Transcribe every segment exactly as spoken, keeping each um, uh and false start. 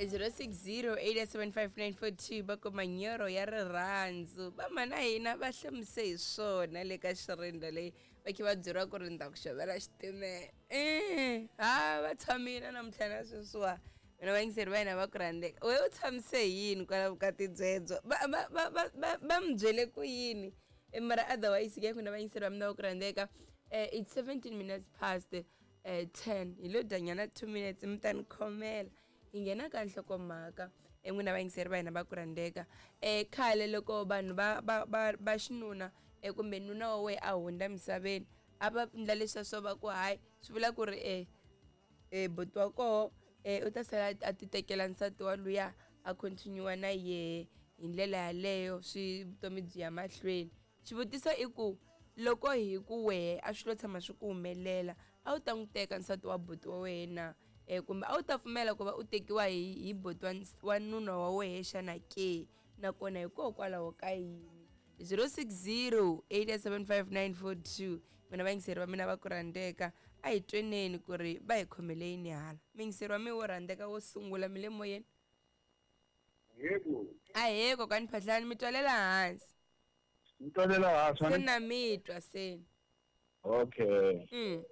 zero six zero eight seven five nine four two va ku manyoro ya rirhandzu va mana hina va hlamise hi swona le ka xirinda leyi va khe va byeriwa ku ri ni ta ku xavela xitimela e ha va tshamile namuntlha na sweswiwa mina vayingiseri va hina va ku rhandzeka we u tshamise hi yini kwala vukati byebyo va va va va va va mi byele ku yini mara otherwise ke n'wina vayingiseri va mina va ku rhandzeka it's seventeen minutes past ten hi lo dyanyana two minutes mi ta ni khomela hi nghena ka nhlokomhaka n'wina vayingiseri va hina va ku rhandzeka um khale loko vanhu va va va va xinuna kumbe nuna wa wena a hundza misaveni a va endla leswiya swo va ku hayi swi vula ku ri e e buti wa koho um u ta sala a ti tekela nsati wa luya a continue na yehe hi ndlela yaleyo swi vutomi byi ya mahlweni xivutiso i ku loko hi ku wehe a swi lo tshama swi ku humelela a wu ta n'wi teka nsati wa buti wa wena eh kumbe a wu ta pfumela ku va u tekiwa hi hi buti wa wa nuna wa wehe xana ke nakona hikokwalaho ka yini zero six zero eight seven five nine four two mina vayingiseri va mina va ku rhandzeka a hi tweneni ku ri va hi khomele yini hala muyingiseri wa mina wo rhandzeka wo sungula mi le moyeni yebo ahee kokwani Phahlani mi twalela hansi mi twalela hansi se na mi twa seni okay mm.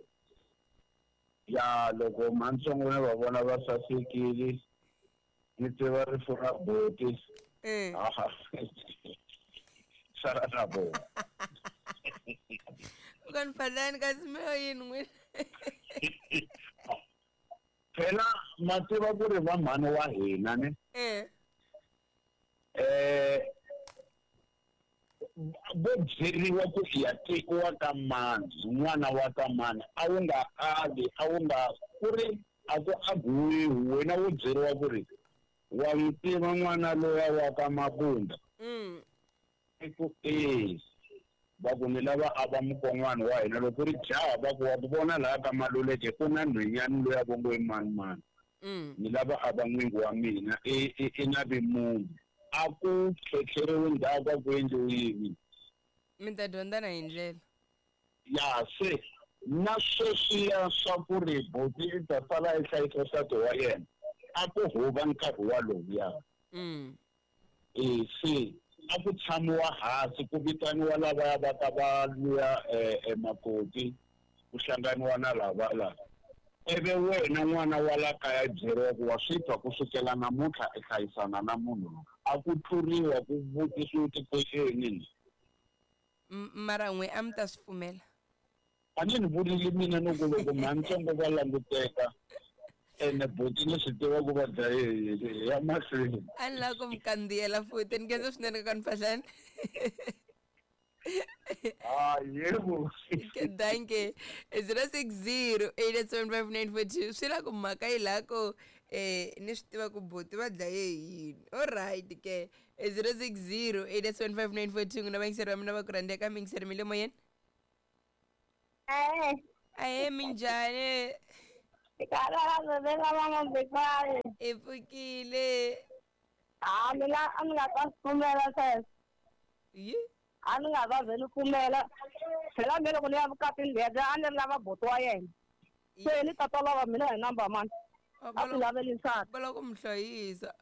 Ya loko mantsongo va vona va sasekile ni tiva rifu ra buti sala na vona kokwani Phahlani kasi mi lo yini n'wina phela ma tiva ku ri va mhani wa hina ne eh eh vo byeriwa ku ya tekiwa ka mani n'wana wa ka mani a wu nga ali a wu nga ku ri a ku aguwiwi wena wo byeriwa ku ri wa n'wi tiva n'wana loya wa ka Mabunda i ku e va ku ni lava a va mukon'wana wa hina loko ku ri jaha va ku wa ku vona laha ka Maluleke ku na nhwenyani loya vo ngo i mani mani ni lava a va n'wingi wa mina i i na vi munhu a ku tlhetlheriwi ndzhaku a ku endliwi yini mi ta dyondzana hi ndlela ya se na sweswiya swa ku ri buti i ta sala i hlayisa nsati wa yena a ku huva nkarhi walowuya e se a ku tshamiwa hansi ku vitaniwa lavaya va ta va luya makoti ku hlanganiwa na lava lava ivi wena n'wana wa la kaya byeriwa ku wa swi twa ku sukela namuntlha i hlayisana na munhu loyi a ku tluriwa ku vutisiwa ti-question mara n'we a mi ta swi pfumela a ni ni vurile mina ni ku loko mhantsongo va languteka ene buti ni swi tiva ku va dlaye ya mahlweni a ni lava ku mi kandziyela futhi ni khensa swinene kokwani Phahlani Ah, yebo. Danke. zero six zero eight seven five nine four two swi la ku mhaka yi la ku eh ni swi tiva ku buti va dlaye yini. All right ke zero six zero eight seven five nine four two n'wina vayingiseri va mina va ku rhandzeka miyingiseri mi le moyeni Eh. Ahee minjhani i pfukile a mina a ni nga ta swi pfumela sweswo yi a ni nga va vheli pfumela phela me loko ni ya vukatini lebyi a ni ri lava buti wa yena se ni tata lava mina hi number mani a ku laveli nsati va lava ku mi hlayisa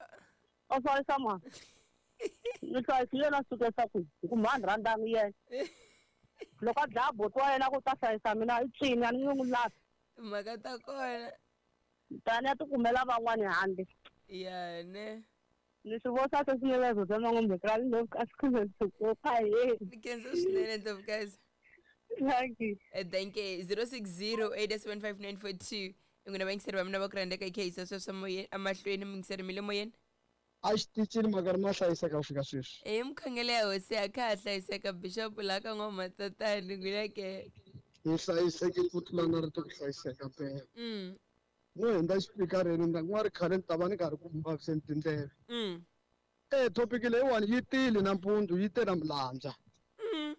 o hlayisa mani ni hlayisile na sukesa kwihi hi ku mhani rhandzani yena loko a dlaya buti wa yena ku ta hlayisa mina i cini a ni nge n'wi lavi timhaka ta kona tani ya tikumela van'wani handle ya ne ni swi voxa sweswi bya man'wambekani ni khensa swinene Ndlovukazi thank you thank you zero six zero eight seven five nine four two n'wina vayingiseri va mina va ku rhandzeka hi kha yisa sweswo moyeni emahlweni muyingiseri mi le moyeni a xitichini mhaka ri ma hlayiseka ku fika sweswi e mukhongelo ya hosi a kha ha hlayiseka bishop laha ka n'wamatatani n'wina ke hi hlayisekile ku tlula na rito ku hlayiseka mpela mm no hundza xipikareni ni nga ri khale ni ta va ni karhi ku vaviseni tindleve mm e thopiki leyiwani yi tile nampundzu yi te na milandza mm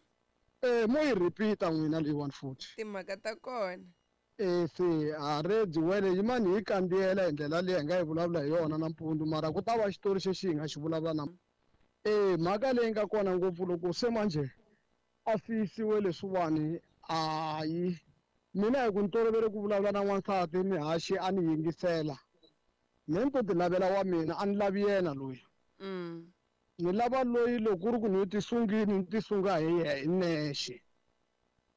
e mo yi repeat-a n'wina leyiwani futhi timhaka ta kona e se a redi wele yimani hi kandziyela hi ndlela leyi hi nga yi vulavula hi yona nampundzu mara ku ta va xitori xexi hi nga xi vulavula na e mhaka leyi nga kona ngopfu loko se manjhe a siyisiwe leswiwani hayi mina hi ku ni tolovele ku vulavula na n'wansati mihaxi a ni yingisela Me ni to ti lavela wa mina a ni lavi yena loyi. Mm. Ni lava loyi loko ku ri ku ni tisungini ni tisunga hi hi nexe.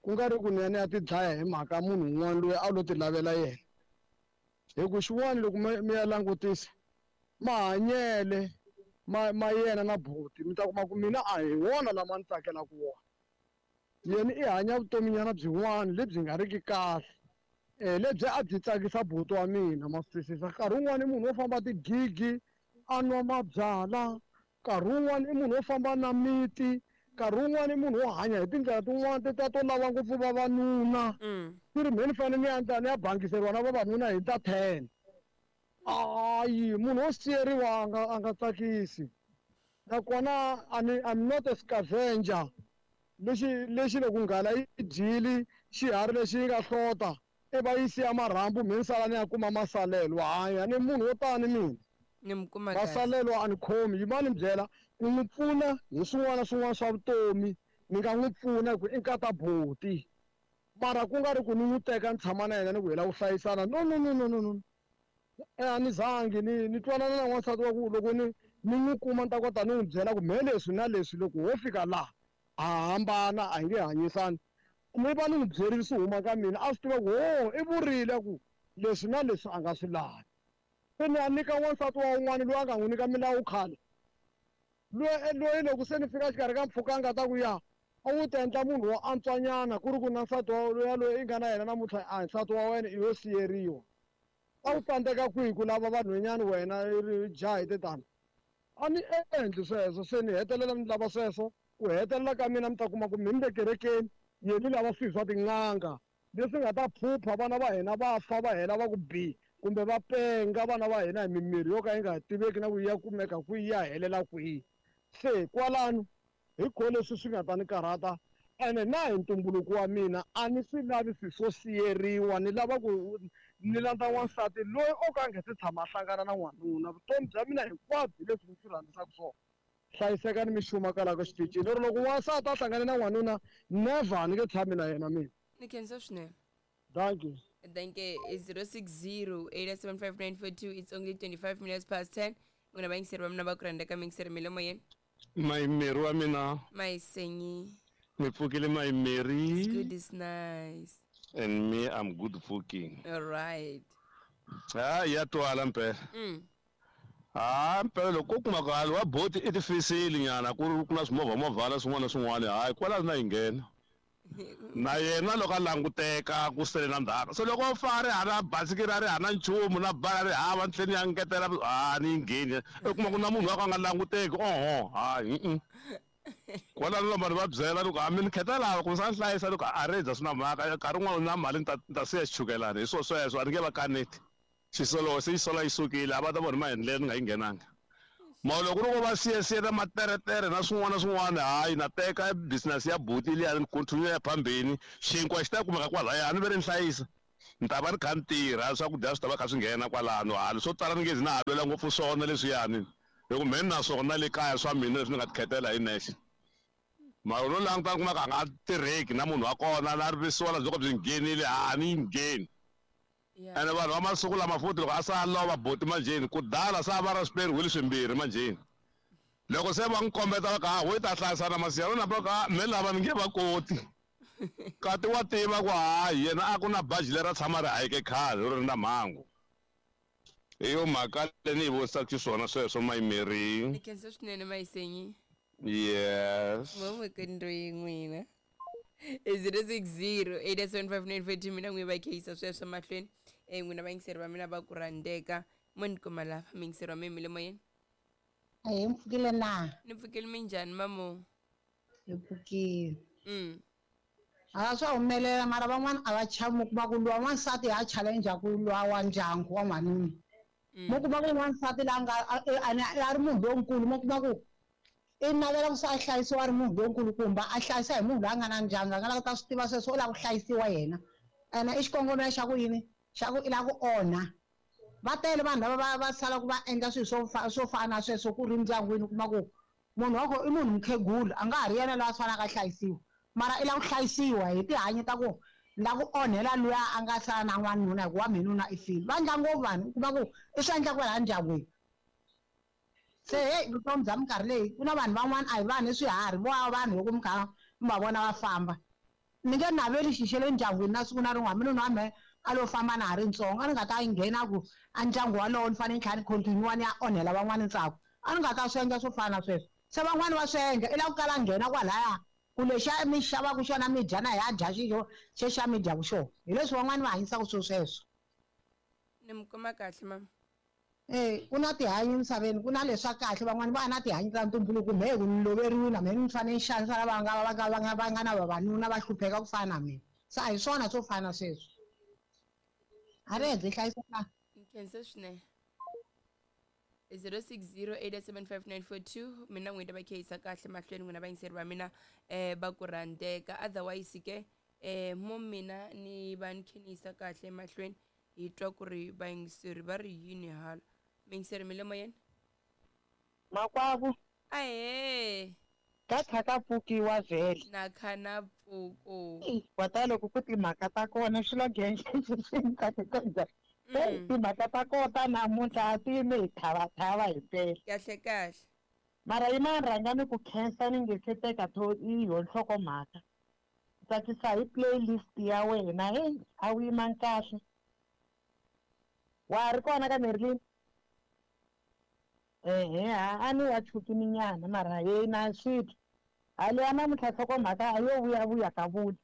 Ku nga ri ku ni ya ni ya ti dlaya hi mhaka munhu un'wana loyi a lo ti lavela yena. Hi ku xin'wana loko mi ya langutisa mahanyele ma ma yena na buti mi ta kuma ku mina a hi wona lama ni tsakelaka wona. Yena i hanya vutominyana byin'wana lebyi nga riki kahle. Eh lebyi a byi tsakisa buti wa mina ma swi twisisa. Nkarhi wun'wani i munhu wo famba tigigi a nwa mabyalwa, nkarhi wun'wani i munhu wo famba na miti, nkarhi wun'wani i munhu wo hanya hi tindlela tin'wani tetiya to lava ngopfu vavanuna. Ku ri mhe ni fanele ni ya ni ya bangiseriwa na vavanuna hi ta ten. Hayi munhu wo siyeriwa a nga a nga tsakisi. Nakona a ni I'm not a scavenger. Lexi lexi loko nghala yi dyile xiharhi lexi yi nga hlota i va yi siya marhambu mhe ni sala ni ya kuma masalelo. Hayi a ni munhu wo tani mina. Ni mi kuma kahle. Masalelo a ni khomi yimani ni byela ku n'wi pfuna hi swin'wana na swin'wana swa vutomi ni nga n'wi pfuna hi ku i nkata buti. Mara ku nga ri ku ni n'wi teka ni tshama na yena ni ku hi lava ku hlayisana no no no no no no. A ni zangi ni ni twanana na n'wansati wa ku loko ni ni n'wi kuma ni ta kota ni n'wi byela ku mhe leswi na leswi loko ho fika laha ha hambana a hi nge hanyisani. Ni va ni n'wi byerile swi huma ka mina a swi tiva ku ho i vurile ku leswi na leswi a nga swi lavi. Se ni ya nyika n'wansati wa un'wana loyi a nga n'wi nyika milawu khale. Loyi loyi loko se ni fika exikarhi ka mpfhuka a nga ta ku ya a wu ta endla munhu wo antswanyana ku ri ku na nsati wa loyi loyi i nga na yena namuntlha a hi nsati wa wena i yo siyeriwa. A wu tsandzeka kwihi ku lava vanhwanyana wena i ri jaha hi tetano. A ni endli sweswo se ni hetelela ni lava sweswo ku hetelela ka mina mi ta kuma ku mi ni le kerekeni yena lava swilo swa tin'anga leswi nga ta phupha vana va hina va fa va hela va ku bi kumbe va penga vana va hina hi mimirhi yo ka yi nga tiveki na ku ya kumeka kwihi ya helela kwihi. Se kwalano hi ko leswi swi nga ta ni karhata ene na hi ntumbuluko wa mina a ni swi lavi swilo swo siyeriwa ni lava ku ni landza n'wansati loyi o ka a nga se tshama a hlangana na n'wanuna. Vutomi bya mina hinkwabyo hi leswi ni swi rhandzisaka swona. Hlayiseka ni mixuma kwalaho ka xitichini. Or loko n'wansati a hlangane na n'wanuna never ni nge tshami na yena mina. Ni khensa swinene. Thank you. Thank you. zero six zero eight seven five nine four two. It's only twenty-five minutes past ten. N'wina vayingiseri va mina va ku rhandza ka miyingiseri mi le moyeni. Mayimeri wa mina. Mayisenyi. Mi pfukile Mayimeri. It's good, it's nice. And me, I'm good fucking. All right. Ah, ya twala mpela. Mm. Ah, mpela loko ku kuma ku hali wa boti i tifisile nyana ku ri ku na swimovha movhana swin'wana na swin'wana hayi kwala na yi nghena. Na yena loko a languteka ku sele na ndzhaka. So loko fa ri hana basikiri a ri hana nchumu na bala ri hava ntlheni ya ngetela ha ni yi ngheni. I kuma ku na munhu wa ka a nga languteki oho hayi mm. Kwalano vanhu va byela loko a mi ni kheta lava ku sa hlayisa loko a redza swi na mhaka nkarhi wun'wana na mali ni ta ni ta siya xichukelana hi swo sweswo a ni nge va kaneti. Xisolo se yi sola yi sukile a va ta vona maendlelo ni nga yi nghenanga. Mara loko ku ri ku va siye siye na materetere na swin'wana na swin'wana hayi na teka business ya buti liya ni continue ya phambeni xinkwa xi ta kumeka kwalaya a ni ve ri ni hlayisa. Ni ta va ni kha ni tirha swakudya swi ta va kha swi nghena kwalano hali swo tala ni nge zi na ha lwela ngopfu swona leswiyani hi ku mhe ni na swona le kaya swa mina leswi ni nga ti khetela hi nexe. Mara no languta ni kuma ku a nga tirheki na munhu wa kona na rivisiwa byo ka byi nghenile a ni yi ngheni. Ene vanhu va masiku lama futhi loko a sa lova buti manjheni ku dala sa va ra swiperi wheel swimbirhi manjheni. Loko se va n'wi kombeta va ku ha wo ta hlayisana masiya na va ku me lava ni nge va koti. Kati wa tiva ku hayi yena a ku na baji leri a tshama ri hayike khale ri ri na mhangu. Hi yo mhaka leyi ni yi vonisaka xiswona sweswo Mayimeri. Ni khensa swinene Mayisenyi. Yes. Mo n'wina. zero six zero eight seven five nine four two mina n'wi va kheyisa sweswo mahlweni. Eh n'wina vayingiseri va mina va ku rhandzeka mo ni kuma lava miyingiseri wa mina mi le moyeni. A hi mpfukile na? Ni pfukile minjhani mamo? Hi pfukile. Mm. A swa humelela mara van'wana a va chavi mi kuma ku lwa n'wansati ha challenge ku lwa wa ndyangu wa n'wanuna. Mo kuma ku n'wansati la nga a ri munhu lonkulu mo kuma ku i navela ku se a hlayisiwa a ri munhu lonkulu kumbe a hlayisa hi munhu loyi a nga na ndyangu a nga lava ku ta swi tiva sweswo u lava ku hlayisiwa yena ene i xikongomelo xa ku yini xa ku i lava ku onha. Va tele vanhu lava va va salaka va endla swilo swo swo fana na sweswo ku ri ndyangwini u kuma ku munhu wa kona i munhu mukhegula a nga ha ri yena loyi a faneleke a hlayisiwa mara i lava ku hlayisiwa hi tihanyi ta ku La ku onhela luya a nga sala na n'wanuna hikuva minuna i file. Va endla ngopfu vanhu u kuma ku i swi endla kwalaya ndyangwini. Se heyi vutomi bya minkarhi leyi ku na vanhu van'wana a hi vanhu i swiharhi vo va vanhu loko mi kha mi va vona va famba. Ni nge naveli xi xa le ndyangwini na siku na rin'we hambi nuna wa mehe a lo famba na ha ri ntsongo a ni nga ta nghena ku a ndyangu walowo ni fanele ni tlhela ni continue ni ya onhela van'wana ntsako. A ni nga ta swi endla swo fana na sweswo. Se van'wani va swi endla i lava ku kala nghena kwalaya ku lexiya mi xavaka xona mi dya na hi dya xixo xexiya mi dyaku xona. Hi leswi van'wani va hanyisaka swilo sweswo. Ni mi kuma kahle mama. Eh ku na tihanyi emisaveni ku na leswa kahle van'wani va na tihanyi ta ntumbuluko mehe ku ni loveriwile na mehe ni fanele ni xanisa lava nga va nga va nga va nga na vavanuna va hlupheka ku fana na mina. Se a hi swona swo fana na sweswo. A ri byi hlayiseka. Ni khensa swinene. zero six zero eight seven five nine four two mina n'wina va khehisa kahle mahlweni n'wina vayingiseri va mina eh va ku rhandzeka otherwise ke eh mo mina ni va ni khenisa kahle mahlweni hi twa ku ri vayingiseri va ri yini hala muyingiseri mi le moyeni makwavo ahee ka kha ka pfukiwa vhele na kha na pfuko kwata loko ku timhaka ta kona xilo genge swi timhaka ta kona namuntlha a ti yime hi thavathava hi mpela kahle kahle mara yima rhanga ni ku khensa ni nge se teka to i yo nhlokomhaka tsakisa hi playlist ya wena heyi a wu yimangi kahle wa ri kona ka Merlin ehe a ni wa chukini nyana mara yena swi hale ya namuntlha nhlokomhaka a yo vuyavuya ka vula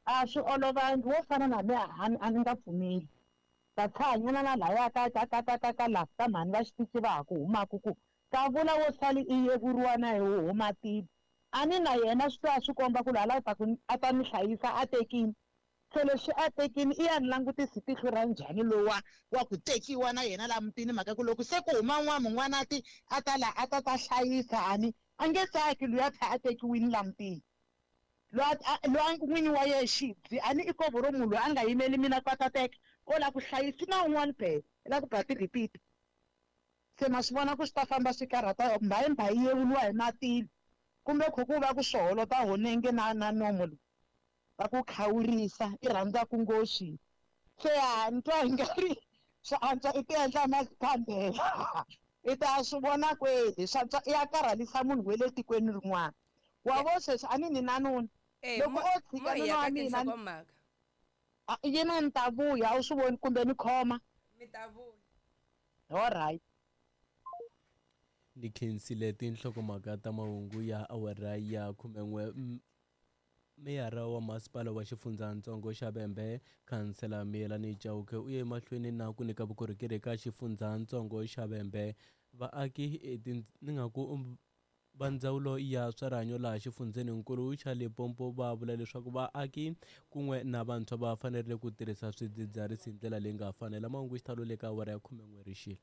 a swi olovangi wo fana na me a ni nga pfumeli ta tshanyana na laya ka ka ka ka ka ka la ka mhani va xitichi va ha ku humaka ku ka vula wo sali i yevuriwa na hi huma tilo a ni na yena swi twa swi komba ku laha ta ku a ta ni hlayisa a tekini se leswi a tekini i ya ni langutisi tihlo ra njhani lowa wa ku tekiwa na yena laha mutini mhaka ku loko se ku huma n'wana mun'wana a ti a ta la a ta ta hlayisa ani a nge tsaki luya tlha a tekiwini laha mutini loyi n'winyi wa yehe xibyi a ni i kovo ro munhu loyi a nga yimeli mina ku a ta teka o lava ku hlayisa na un'wana phela i lava ku ba ti-repeat se ma swi vona ku swi ta famba swi karhata mbayimbayi yevuriwa hi matilo kumbe kho ku va ku swiholota honenge na na nomo lowu va ku khawurisa i rhandza ku ngoxi se ha ni twa hi nga ri swi antswa i ti endla mazikhandela i ta swi vona kwele swi antswa i ya karhalisa munhu wa le tikweni rin'wana wa vo sweswi a ni ni na nuna loko o tshika nuna wa mina yena ni ta vuya a wu swi voni kumbe ni khoma mi ta vuya alright ni khensile tinhlokomhaka ta mahungu ya awara ya khumen'we meyara wa masipala wa xifundzatsongo xa Vhembe khansela Miyelani Chauke u ye emahlweni na ku nyika vukorhokeri eka xifundzatsongo xa Vhembe vaaki ni nga ku va ndzawulo ya swa rihanyo laha xifundzeninkulu xa Limpopo va vula leswaku vaaki kun'we na vantshwa va fanerile ku tirhisa swidzidziharisi hi ndlela leyi nga fanela mahungu xitalo le ka awara ya khumen'we rixile.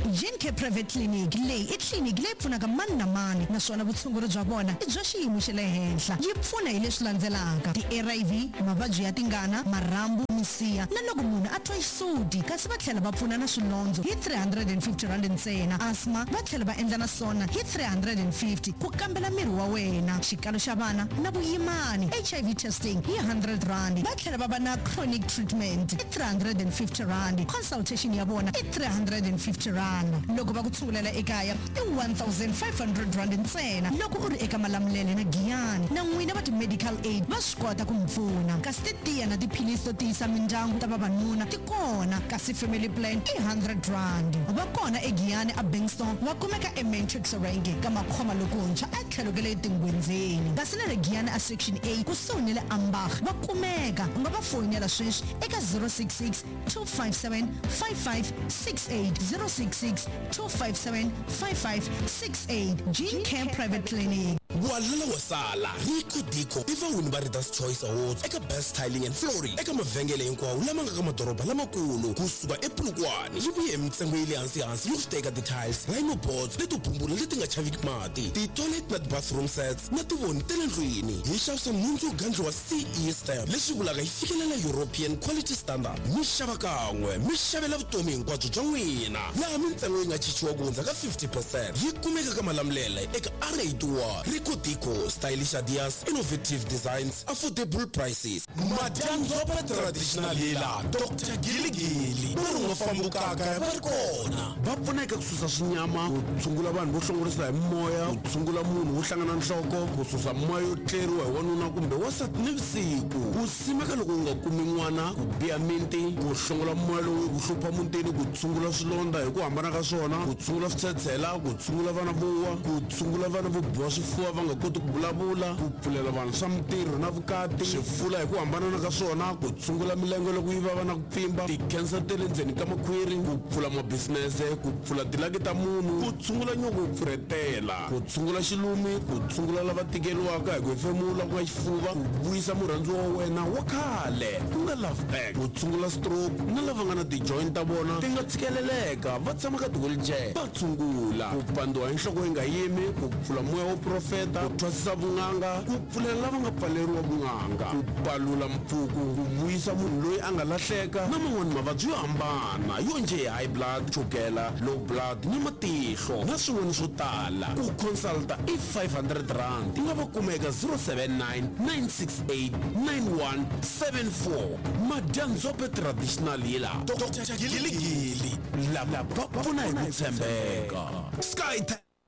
G N K Private Clinic leyi i tliliniki leyi pfunaka mani na mani naswona vutshunguri bya vona i bya xiyimo xa le henhla yi pfuna hi leswi landzelaka ti-A I V mavabyi ya tingana marhambu misiha na loko munhu a twa xisuti kasi va tlhela va pfuna na swilondzo hi three hundred and fifty rand ntsena asthma va tlhela va endla na swona hi three hundred and fifty ku kambela miri wa wena xikalo xa vana na vuyimani H I V testing hi one hundred rand va tlhela va va na chronic treatment i three hundred and fifty rand consultation ya vona i three hundred and fifty rand loko va ku tshungulela ekaya i one thousand five hundred rand ntsena loko u ri eka Malamulele na Giyani na n'wina va ti-medical aid va swi kota ku mi pfuna kasi titiya na tiphilisi to tiyisa mindyangu ta vavanuna ti kona kasi family plan i one hundred rand va kona eGiyani a Bankston va kumeka eMatrix Range ka makhoma lokuntshwa a tlhelo ka le tingwendzeni kasi na le Giyani a Section A kusuhi ni le Ambach va kumeka u nga va foyinela sweswi eka zero six six two five seven five five six eight zero six six two five seven five five six eight Gene Care Private Clinic. Walala wasala Rico Dico i vawini va Readers Choice Awards eka Best Tiling and Flooring eka mavhengele hinkwawo lama nga ka madoroba lamakulu kusuka ePolokwane yi vuye hi mintsengo ya le hansi-hansi yo teka ti-tiles, rhino boards leto bumbula leti nga chaviki mati, ti-toilet na ti-bathroom sets na tivoni ta le ndlwini. Hi xavisa nhundzu yo gandliwa C E stamp leswi vulaka yi fikelela European quality standard. Mi xava kan'we mi xavela vutomi hinkwabyo bya n'wina laha mintsengo yi nga chichiwa ku hundza ka fifty percent. Yi kumeka ka Malamulele eka R eighty-one Rico. Rico Dico, stylish ideas, innovative designs, affordable prices. Madyandzopha traditional healer Doctor Giligili va ri nga fambukaka va ri kona. Va pfuna eka ku susa swinyama, ku tshungula vanhu vo hlongorisa hi moya, ku tshungula munhu wo hlangana nhloko, ku susa moya yo tleriwa hi wanuna kumbe wansati nivusiku, ku simeka loko u nga kumi n'wana, ku biha minti, ku hlongola moya lowu ku hlupha mutini, ku tshungula swilondza hi ku hambana ka swona, ku tshungula switshetshela, ku tshungula vana vo wa, ku tshungula vana vo biwa swifuva va nga koti ku vulavula, ku pfulela vanhu swa mintirho na vukati, swifula hi ku hambanana ka swona, ku tshungula milenge loko yi vava na ku pfimba, ti-cancer ta le ndzeni ka makhwiri, ku pfula mabisinese, ku pfula tilaki ta munhu, ku tshungula nyoko yo pfurhetela, ku tshungula xilumi, ku tshungula lava tikeriwaka hi ku hefemula ku nga xifuva, ku vuyisa murhandziwa wa wena wa khale ku nga love back, ku tshungula stroke na lava nga na ti-joint ta vona ti nga tshikeleleka va tshama ka ti-wheelchair, va tshungula ku pandziwa hi nhloko yi nga yimi, ku pfula moya wo profeta, ku thwasisa vun'anga, ku pfulela lava nga pfaleriwa vun'anga, ku palula mpfuku, ku vuyisa munhu loyi a nga lahleka na man'wani mavabyi yo hambana yo njhe high blood, chukela, low blood na matihlo na swin'wana swo tala. Ku consulta i five hundred rand. Nga va kuma eka zero seven nine, nine six eight, nine one seven four. Madyandzophe traditional healer Doctor Giligili lava va pfuna hi ku tshembeka. Sky.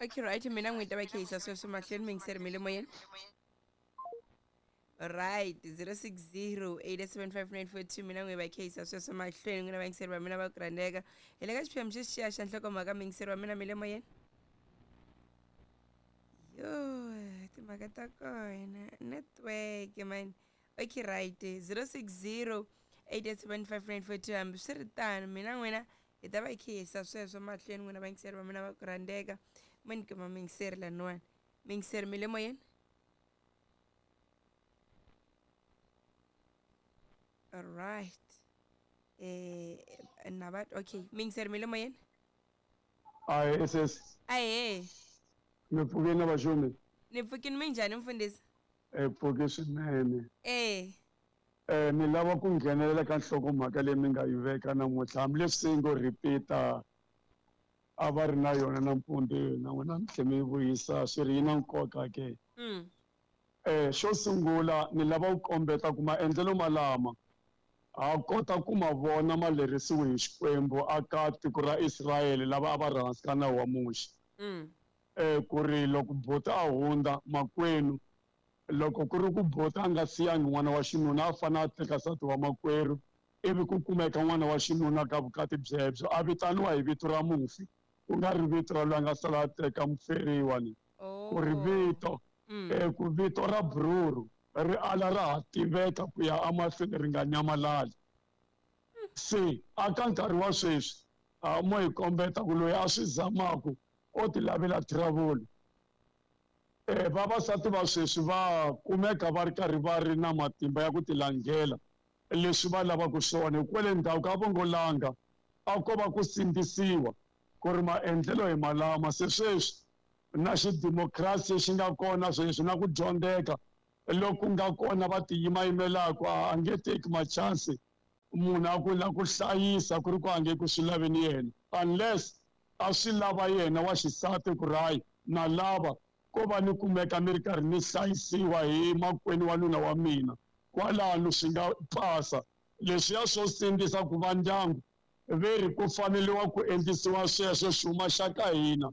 Okay, right, mina n'wi ta va khehisa sweswo mahlweni mingiseri mi le moyeni. Right, zero six zero, eight seven five nine four two mina n'wi va khehisa sweswo mahlweni n'wina vayingiseri va mina va ku rhandzeka. Hi le ka xiphemu xexiya xa nhlokomhaka mingiseri wa mina mi le moyeni. Yo, timhaka ta kona network man. Okay, right, zero six zero, eight seven five nine four two hambi swi ri tano mina n'wina hi ta va khehisa sweswo mahlweni n'wina vayingiseri va mina va ku rhandzeka. Mo ni kuma mingiseri laniwani. Mingiseri mi le moyeni. All right. Eh, nabat okay. Mingiseri mi le moyeni. Ayi S S. Ayi. Ni pfukile na vaxumi. Ni pfukile minjhani mfundhisi? Eh pfuke swinene. Eh. Eh ni lava ku nghenelela ka nhlokomhaka leyi mi nga yi veka namuntlha hambileswi se yi ngo repeat-a a va ri na yona nampundzu na n'wina mi tlhe mi vuyisa swi ri yi na nkoka ke. Mm. Eh xo sungula ni lava ku kombeta ku maendlelo malama ha kota ku ma vona ma lerisiwe hi Xikwembu aka tiko ra Israyele lava a va ri hansi ka nawu wa Muxe. Mm. Eh ku ri loko buti a hundza makwenu loko ku ri ku buti a nga siyangi n'wana wa xinuna a fanele a teka nsati wa makwerhu ivi ku kumeka n'wana wa xinuna ka vukati byebyo a vitaniwa hi vito ra mufi ku nga ri vito ra loyi a nga sala a teka muferiwa ni ku ri vito eh ku vito ra bruru ri ala ra ha tiveka ku ya emahlweni ri nga nyamalali. Se aka nkarhi wa sweswi a mo hi kombeta ku loyi a swi zamaku o ti lavela trouble. Eh vavasati va sweswi va kumeka va ri karhi va ri na matimba ya ku tilanghela leswi va lavaka swona hikwale ndhawu ka vongolanga a ko va ku sindzisiwa ku ri maendlelo hi malama. Se sweswi na xidemokirasi xi nga kona sweswi na ku dyondzeka loko nga kona va tiyimayimelaka a nge teki machansi munhu a ku la ku hlayisa ku ri ku a nge ku swi laveni yena unless a swi lava yena wa xisati ku ri hayi na lava ko va ni kumeka mi ri karhi ni hlayisiwa hi makwenu wa nuna wa mina kwalano swi nga pasa. Leswiya swo sindzisa ku va ndyangu ve ri ku faneliwa ku endlisiwa sweswo xuma xa ka hina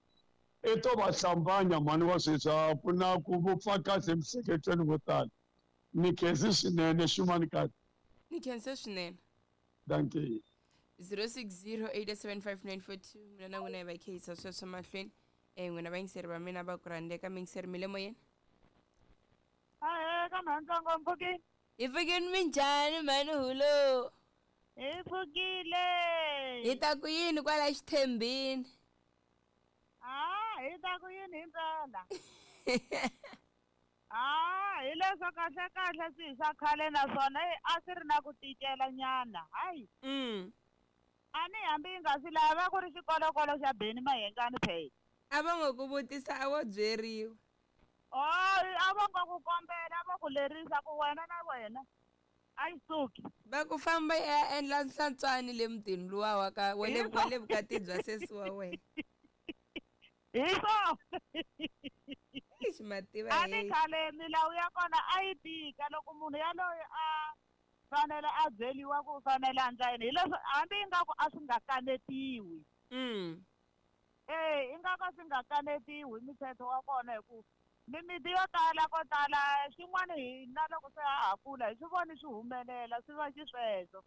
i to va hlambanya mhani wa sweswi a ku na ku vupfa kahle emiehleketweni vo tala. Ni khensi swinene xumani kahle. Ni khense swinene. Dankie. zero six zero, eight seven five nine four two mina na n'wina hi va khehisa sweswo mahlweni. Eh n'wina vayingiseri va mina va ku rhandzeka mingiseri mi le moyeni. Ahe ka mhantsongo mpfukile. Hi pfukile minjhani mhani hulo? Hi pfukile. Hi ta ku yini kwala xithembini? Ah, hi ta ku yini himpela? Ah, hi leswo kahle kahle swi swa khale naswona a swi ri na ku tikela nyana. Hayi. Mm. A ni hambi yi nga swi lava ku ri xikolokolo xa Benny Mayengani phela. A va ngo ku vutisa a wo byeriwa. Oh, a va ngo ku kombela va ku lerisa ku wena na wena a yi suki. Va ku famba ya endla nhlantswani le mutini luwa wa ka wa le wa le vukati bya sesi wa wena. Hi swona. Eish mativa A ni khale milawu ya kona a yi tika loko munhu yaloye a fanele a byeliwa ku fanele a ndla yini hileswo hambi ingaku a swi nga kanetiwi. Mm. Eh, ingaku a swi nga kanetiwi mithetho wa kona hi ku mimiti yo tala ko tala xin'wana hina loko se ha ha kula hi swi voni swi humelela swi va xisweswo.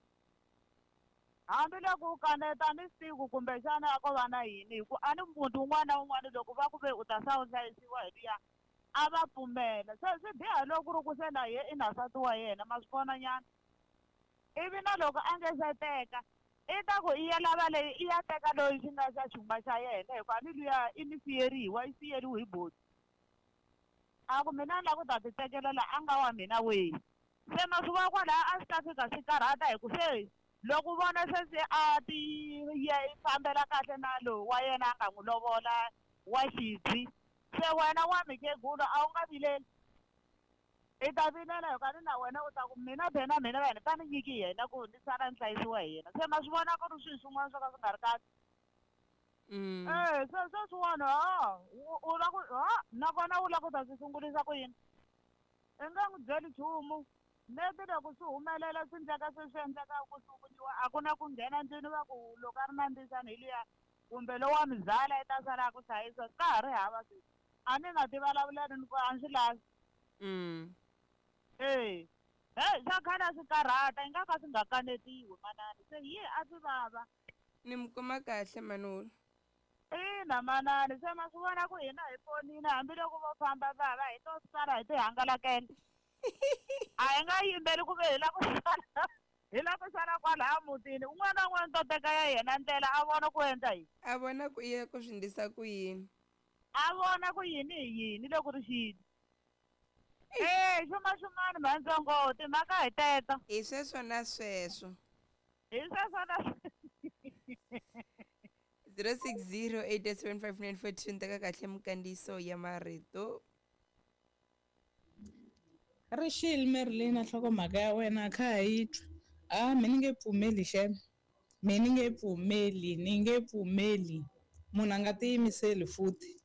Hambi loko u kaneta ni siku kumbexana a ko va na yini hi ku a ni muti wun'wana na wun'wana loko va ku ve u ta sa u hlayisiwa hi luya a va pfumela. Se swi biha loko ku ri ku se na ye i na nsati wa yena ma swi vona nyana. Ivi na loko a nge se teka i ta ku i ya lava leyi i ya teka loyi xi nga xa xuma xa yena hikuva ni luya i ni siyeriwa i siyeriwe hi boti. A ku mina ni lava ku ta ti tekela la a nga wa mina wihi. Se ma swi vona kwalaya a swi ta fika swi karhata hi ku se loko vona se se a ti ye fambela kahle na lowu wa yena a nga n'wi lovola wa xidzi se wena wa mikhegula a wu nga vileli i ta vilela hikuva ni na wena u ta ku mina bena mina vanhu va ni nyiki yena ku ni sala ni hlayisiwa hi yena se ma swi vona ku ri swilo swin'wana swo ka swi nga ri kahle. Mm. Eh, se sweswiwani ha u la ku ha nakona u la ku ta swi sungurisa ku yini i nga n'wi byeli nchumu leti loko swi humelela swi endleka se swi endleka ku sunguriwa a ku na ku nghena ndlwini va ku loko a ri na ndzisana hi luya kumbe lowa mizala i ta sala a ku hlayisa ka ha ri hava sweswi a ni nga ti vulavuleli ni ku a ni swi lavi. Mm. Eh, he swa khale a swi karhata i nga ka swi nga kanetiwi manani se hi a swi vava. Ni mi kuma kahle manulu. Ina manani se ma swi vona ku hina hi ponile hambiloko vo famba va va hi to sala hi ti hangalakela. A hi nga yimbeli ku ve hi la ku sala hi la ku sala kwalaya mutini un'wana na un'wana to teka ya yena ndlela a vona ku endla yini. A vona ku ya ku swi ndlisa ku yini. A vona ku yini hi yini loko ri xini. Eh, xuma xumani mhantsongo timhaka hi teto. Hi sweswo na sweswo. Hi sweswo na zero six zero eight seven five nine four two teka kahle mikandziyiso ya marito. Rixile Merlina nhlokomhaka ya wena kha ha yi twa. A mi ni nge pfumeli xem. Mi ni nge pfumeli, ni nge pfumeli. Munhu a nga tiyimiseli futhi.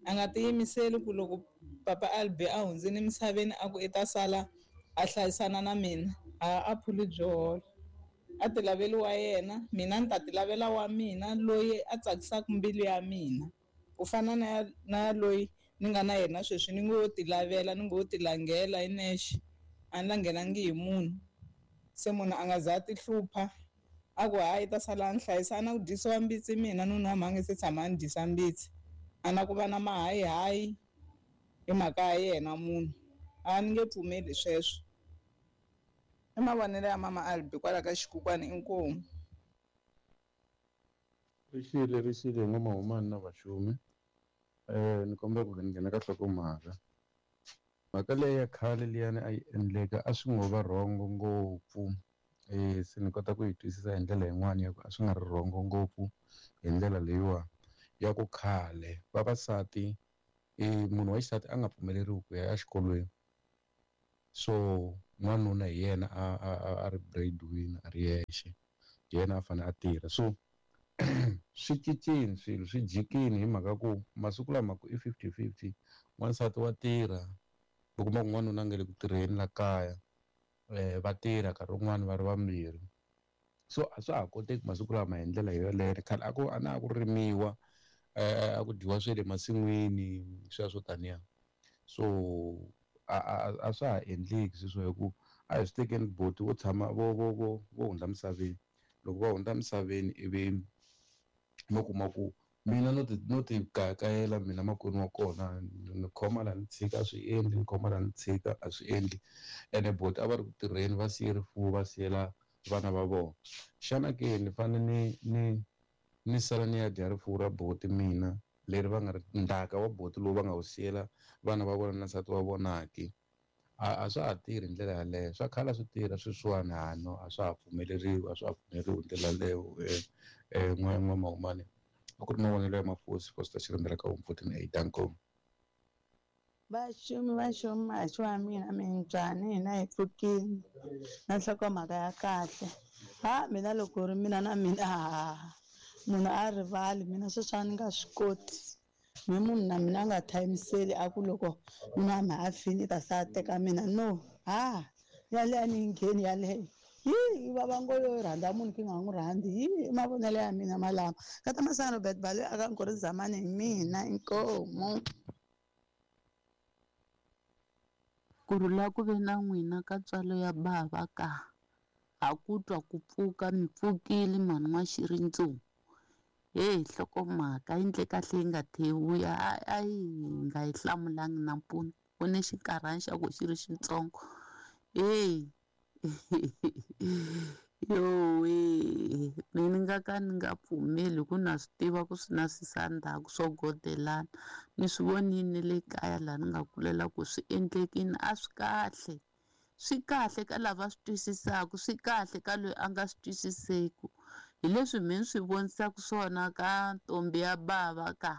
A nga tiyimiseli ku loko papa Albi a hundzile emisaveni a ku i ta sala a hlayisana na mina. A a phuli byo hola. A ti laveli wa yena, mina ni ta ti lavela wa mina loyi a tsakisaka mbilu ya mina. Ku fana na na loyi ni nga na yena sweswi ni ngo ti lavela ni ngo ti langela hi nexe a ni langhelangi hi munhu. Se munhu a nga za ti hlupha a ku hayi ta sala a ni hlayisa a na ku dyisiwa mbitsi mina nuna wa mhani se tshama a ni dyisa mbitsi a na ku va na mahayihayi hi mhaka ya yena munhu a ni nge pfumeli sweswo. I mavonelo ya mama Albi kwala ka xikukwani inkomu. Rixile rixile n'wamahumani na vaxumi. Eh ni kombela ku nghena ka nhlokomhaka. Mhaka leyi ya khale liyani a yi endleka a swi ngo va rhongo ngopfu. Eh se ni kota ku yi twisisa hi ndlela yin'wani ya ku a swi nga ri rhongo ngopfu hi ndlela leyiwa ya ku khale vavasati eh munhu wa xisati a nga pfumeleriwi ku ya exikolweni. So n'wanuna hi yena a a a ri breadwinner a ri yexe hi yena a fanele a tirha. So swi cincile swilo swi jikile hi mhaka ku masiku lama ku i fifty fifty n'wansati wa tirha u kuma ku n'wanuna a nga le ku tirheni la kaya eh va tirha nkarhi wun'wani va ri vambirhi. So a swa ha koteki masiku lama hi ndlela yoleyo khale a ku a na ku rimiwa eh a ku dyiwa swa le masin'wini sweswo taniya. So a a a swa ha endleki sweswo hi ku a hi swi tekeni boti vo tshama vo vo vo vo hundza misaveni loko va hundza misaveni ivi mo kuma ku mina no ti no ti kayakayela mina makwenu wa kona ni khoma la ni tshika a swi endli ni khoma la ni tshika a swi endli ene boti a va ri ku tirheni va siye rifuwo va siyela vana va vona. Xana ke ni fanele ni ni ni sala ni ya dya rifuwo ra boti mina leri va nga ri ndzhaka wa boti lowu va nga wu siyela vana va vona na nsati wa vona ke a a swa ha tirhi hi ndlela yaleyo. Swa khale a swi tirha sweswiwani ha no a swa ha pfumeleriwi a swa ha pfumeleriwi hi ndlela yaleyo eh n'wa n'wamahumani a ku ri mavonelo ya mafosi Foster Xirindza ka home fourteen eight danko. Vaxumi vaxumi mahaxi wa mina minjhani hina hi pfukile na nhlokomhaka ya kahle. Ha mina loko ri mina na mina ha munhu a rivali mina sweswi a ni nga swi koti. Me munhu na mina a nga thayimiseli a ku loko nuna ma a fini ta sa teka mina no ha yaleyo a ni yi ngheni yaleyo yi yi vava ngo yo rhandza munhu ki nga n'wi rhandzi yi i mavonelo ya mina malama ka ta masana Robert Baloyi a ka Nkori Zamani hi mina inkomu. Kurhula ku ve na n'wina ka ntswalo ya bava ka ha ku twa ku pfuka mi pfukile mhani n'wa-Xirindzungu heyi nhlokomhaka yi ndle kahle yi nga thevuya a yi nga yi hlamulangi nampundzu ku ni xinkarhana xa ku xi ri xitsongo heyi yowe mina ni nga ka ni nga pfumeli ku na swi tiva ku swi na swisandzhaku swo godelana ni swi vonile na le kaya laha ni nga kulela ku swi endlekile a swi kahle swi kahle ka lava swi twisisaka swi kahle ka loyi a nga swi twisiseku hi leswi mina ni swi vonisaka swona ka ntombi ya bava ka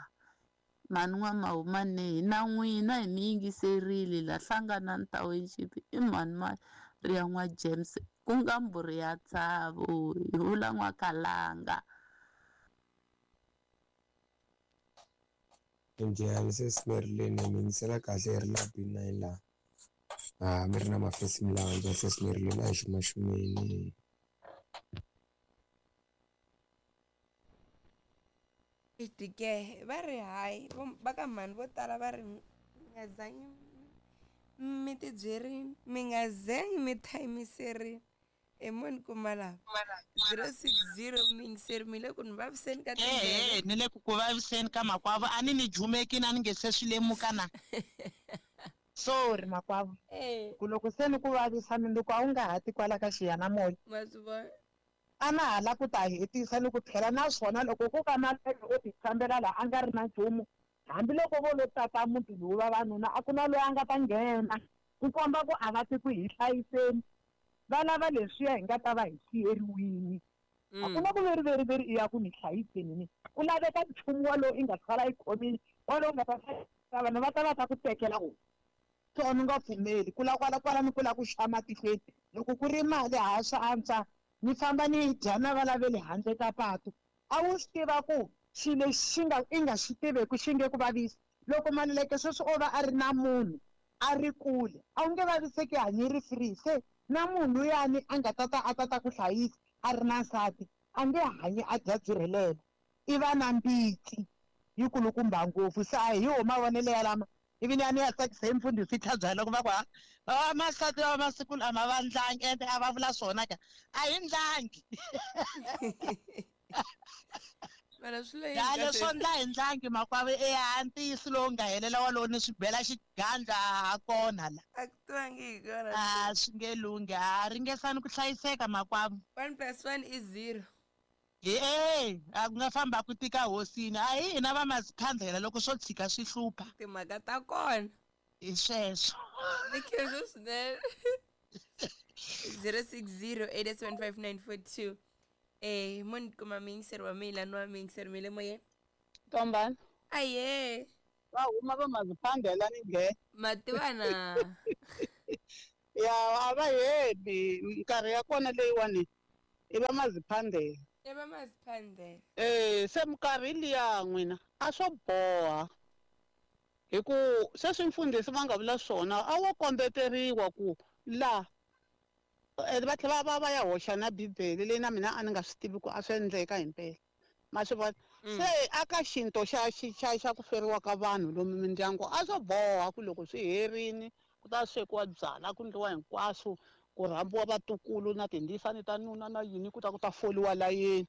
mhani n'wa-Mahumane hi na n'wina hi mi yingiserile la Hlanganani Township i mhani Maria n'wa-James ku nga mbhuri ya Tsavo hi vula N'wakalanga. Njhani sesi Marilyn mi yingisela kahle hi ri la B nine laha a mi ri na mafesi milandzu sesi Marilyn a hi xumaxumeni. Ke va ri hayi va ka mhani vo tala va ri mi nga zangi mi tibyerini mi nga zangi mi thayimiserini i muni kuma lava zero six zero mi yingiseri mi le ku ni vaviseni ka ehe ni le ku ku vaviseni ka makwavo a ni ni jumekini a ni nge se swi lemuka na sorry makwavo ku loko se ni ku vavisa mindzuku a wu nga ha ti kwala ka xiyanimoya ma swi vona a na ha la ku ta hetisa ni ku tlhela naswona loko ko ka matlhelo o ti fambela laha a nga ri na nchumu hambiloko vo lo tata muti lowu vavanuna a ku na loyi a nga ta nghena ku komba ku a va ti ku hi hlayiseni va lava leswiya hi nga ta va hi siyeriwini a ku na ku veri veri veri i ya ku ni hlayiseni ni ku laveka nchumu walowu i nga sala yi khomile walowu nga ta hlayisa vanhu va ta va ta ku tekela wona so a ni nga pfumeli ku la kwala kwala ni ku la ku xa matihlweni loko ku ri mali ha swa antswa ni famba ni dya na va lavele handle ka patu a wu swi tiva ku xilo lexi xi nga i nga xi tiveku xi nge ku vavisi loko Maluleke sweswi o va a ri na munhu a ri kule a wu nge vaviseki hanyi ri free se na munhu luyani a nga tata a tata ku hlayisa a ri na nsati a nge hanyi a dya byi rhelela i va na mbitsi yi kulukumba ngopfu se a hi wo mavonelo ya lama ivi ni ya ni ya tsakisa hi mfundhisi tlhabyala loko va ku ha vamasati va masiku lama va ndlangi ende a va vula swona ka a hi ndlangi ya leswo ndla hi ndlangi makwavo eya ntiyiso lowu nga helela walowo ni swi bela xigandla ha kona la a ku tivangi hi kona a swi nge lunghi a ringesani ku hlayiseka makwavo one plus one is zero e a ku nga famba ku tika hosini a hi hina va maziphandlela loko swo tshika swi hlupha timhaka ta kona hi sweswo ni khensa swinene zero six zero eight seven five nine four two eh muni kuma miyingiseri wa mina ni wa miyingiseri mi le moyeni Ntombani aye va huma va maziphandela ni nge mativana ya a va heli minkarhi ya kona leyiwani i va maziphandela i va maziphandela eh se minkarhi liya n'wina a swo boha hi ku sweswi mfundhisi va nga vula swona a wo kombeteriwa ku la va tlhela va va ya hoxa na bibele leyi na mina a ni nga swi tivi ku a swi endleka himpela ma swi vona se aka xinto xa xa xa ku feriwa ka vanhu lomu mindyangu a swo boha ku loko swi herini ku ta swekiwa byala ku ndliwa hinkwaswo ku rhambiwa vatukulu na tindisani ta nuna na yini ku ta ku ta foliwa layeni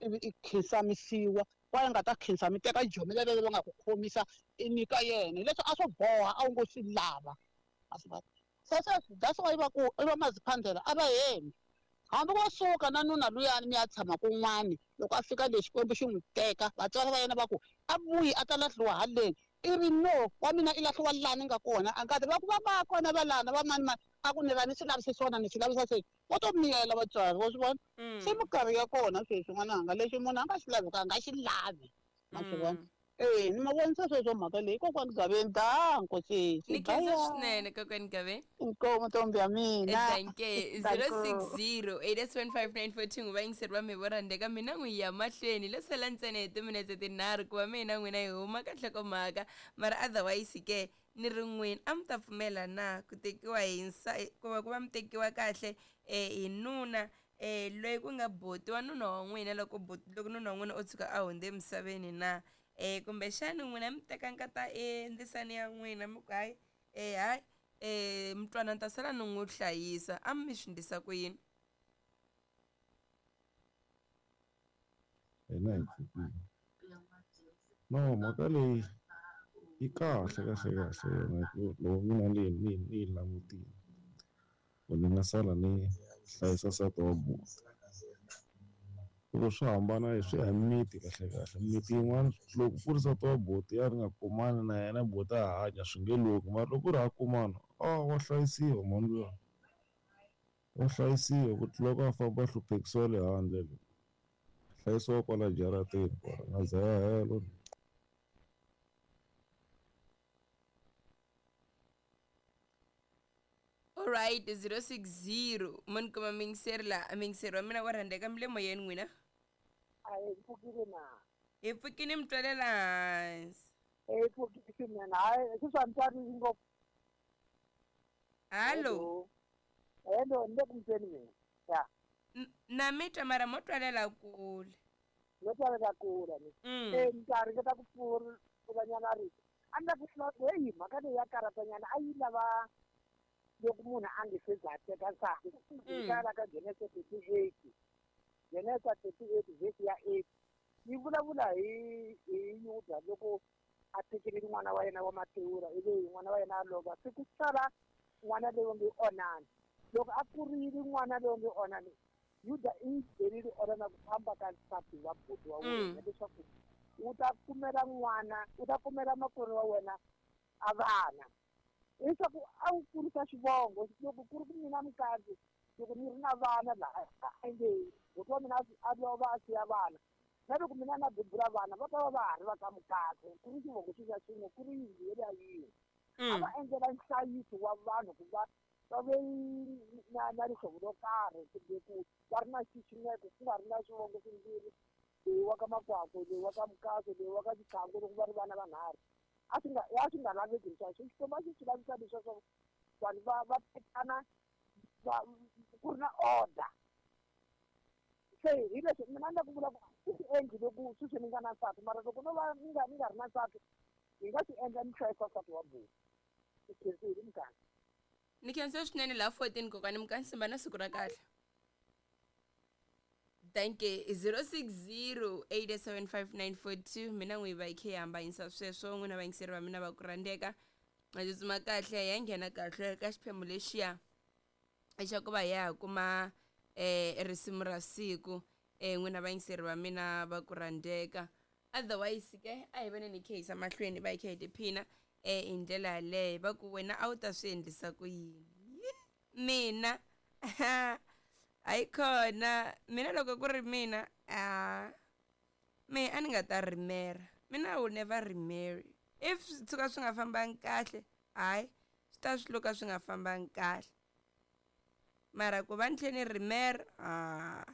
ivi i khinsamisiwa kwala nga ta khinsami teka jomela lero va nga ku khomisa i nyika yena leswi a swo boha a wu ngo swi lava a swi vona se sweswi that's why va ku i va maziphandela a va hembi hambi wo suka na nuna luyani mi ya tshama kun'wani loko a fika le Xikwembu xi n'wi teka vatswari va yena va ku a vuyi a ta lahliwa haleni i ri no wa mina i lahliwa lani nga kona a nga ti va ku va va kona va lana va mani mani a ku ni ra ni swi lavisa swona ni swi lavisa se wo to miyela vatswari wa swi vona se minkarhi ya kona sweswi n'wananga lexi munhu a nga xi laviki a nga xi lavi ma swi vona Eh, ni ma vonisa sweswo mhaka leyi kokwani Gaveni danko sesi. Ni khensa swinene kokwani Gaveni. Inkomu ntombi ya mina. Danke zero six zero eight seven five nine four two vayingiseri va mi vo rhandzeka mina n'wi ya mahlweni lo sala ntsena hi timinetse tinharhu ku va mina n'wina hi huma ka nhlokomhaka mara otherwise ke ni ri n'wini a mi ta pfumela na ku tekiwa hi nsa ku va ku va mi tekiwa kahle eh hi nuna eh loyi ku nga boti wa nuna wa n'wina loko boti loko nuna wa n'wina o tshuka a hundze emisaveni na eh kumbexani n'wina mi teka nkata endzisani ya n'wina mi ku hayi eh hayi eh mntwana ni ta sala ni n'wi hlayisa a mi swi ndlisa ku yini hina hi pfukile no mhaka leyi yi kahle kahle kahle yona hi ku loko mina ni ni ni yi langutile ku ni nga sala ni hlayisa nsati wa buti loko swi hambana swi ya hi miti kahle kahle miti yin'wana loko ku ri nsati wa buti ya ri nga kumani na yena buti a hanya swi nge lunghi mara loko ku ri ha kumana a wa hlayisiwa mhani luya wa hlayisiwa ku tlula ku a famba a hluphekisiwa le handle le hlayisiwa kwala jarateni kwala nga za ya helo. Alright, zero six zero mun kuma mingiseri la mingiseri wa mina wa rhandzeka mi le moyeni n'wina a hi pfukile na hi pfukile mi twalela hansi hi pfukile swinene hayi sweswi a ni twarisi ngopfu. Hallo hello ni le ku mutweni mina ya na mi twa mara mo twalela kule no twalela kule ni e ni ta ringeta ku pfulanyana rito a ni la ku heyi mhaka leyi ya karatanyana a yi lava loko munhu a nge se za teka nsati kala ka Genesis thirty-eight Genesis thirty-eight verse ya eight yi vulavula hi hi Yuda loko a tekile n'wana wa yena wa Matewura ivi n'wana wa yena a lova se ku sala n'wana loyi nge Onani loko a kurile n'wana loyi nge Onani Yuda i byerile Onani ku famba ka nsati wa buti wa wena leswaku u ta kumela n'wana u ta kumela makwerhu wa wena a vana leswaku a wu kurisa xivongo loko ku ri ku mina mukadzi loko ni ri na vana laha a nge buti wa mina a lova a siya vana na loko mina na bebula vana va ta va va ha ri va ka mukadzi ku ri xivongo xi xa xin'we ku ri yindlu yeliya yin'we a va endlela nhlayiso wa vanhu ku va va ve na na rihlovo ro karhi kumbe ku va ri na xiximeko ku nga ri na swivongo swimbirhi leyi wa ka Makwakwe leyi wa ka Mukadzi leyi wa ka Xitlhangu loko va ri vana vanharhu a swi nga a swi nga laveki sweswo Xikwembu a xi swi lavisa leswaku vanhu va va tekana va ku ri na order se hi leswi mina ni la ku vula ku i swi endli loko sweswi ni nga na nsati mara loko no va ni nga ni nga ri na nsati hi nga swi endla ni hlayisa nsati wa buti i khensile muganga ni khensa swinene laha fourteen kokwani Mukansimba na siku ra kahle. Danke zero six zero eight seven five nine four two mina n'wi va yi khe yi hambanyisa sweswo n'wina vayingiseri va mina va ku rhandzeka ma tsutsuma kahle ya nghena kahle ka xiphemu lexiya xa ku va hi ya ha kuma eh risimu ra siku eh n'wina vayingiseri va mina va ku rhandzeka otherwise ke a hi voneni hi khe yisa mahlweni va hi khe hi tiphina eh hi ndlela yaleyo va ku wena a wu ta swi endlisa ku yini mina hayi khona mina loko ku ri mina a me a ni nga ta rimera mina I will never remarry if swi tshuka swi nga fambangi kahle hayi swi ta swi luka swi nga fambangi kahle mara ku va ni tlhe ni rimera a